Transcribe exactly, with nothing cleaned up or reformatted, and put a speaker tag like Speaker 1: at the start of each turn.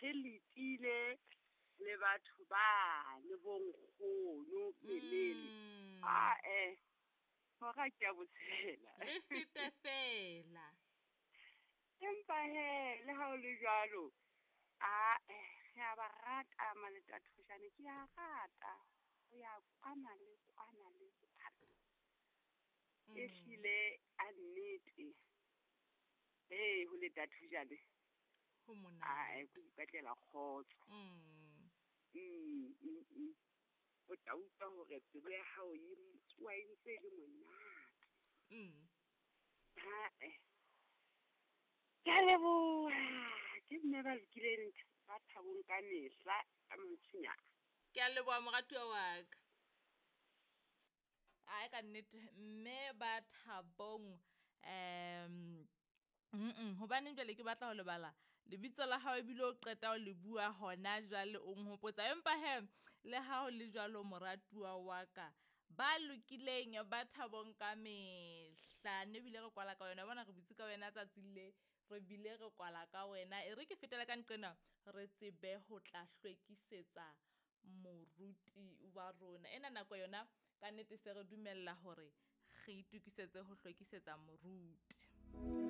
Speaker 1: Re letile, le batho bane bo nkgono Mmememe.
Speaker 2: Mm.
Speaker 1: Ae, hora ke ya botshelela.
Speaker 2: Re fete feela.
Speaker 1: Empa hee, le ha ho le jwalo, ae re a ba rata Maleta Thojane ke a rata, ho ya kwana le kwana le kwana.
Speaker 2: Mm.
Speaker 1: Ehlile a nnete, hee ho leta thojane,
Speaker 2: Ho
Speaker 1: ae
Speaker 2: monate.
Speaker 1: ke ho ipatlela kgotso.
Speaker 2: Mm.
Speaker 1: Mm, mm, mm. O tla utlwa hore pelo ya hao e m-, tsoha e ntse e le monate.
Speaker 2: Mm.
Speaker 1: Hae. Ke a leboha, ke mme ba lokileng ba thabong ka mehla, ka mantswenyana.
Speaker 2: Ke a leboha moratuwa wa ka. Ae ka nnete mme ba thabong, em, mm-mm, hobaneng jwale ke batla ho lebala lebitso la hao ebile o qeta ho le bua hona jwale o nhopotsa. Empa he, le ha ho le jwalo moratuwa wa ka, ba lokileng ba thabong ka mehla. Ne ebile re kwala ka wena, bona re butse ka wena tsatsing le, re bile re kwala ka wena. E re ke fetele ka nqena re tsebe ho tla hlwekisetsa moruti wa rona. Ena nako yona ka nnete se re dumella hore re itokisetse ho hlwekisetsa moruti.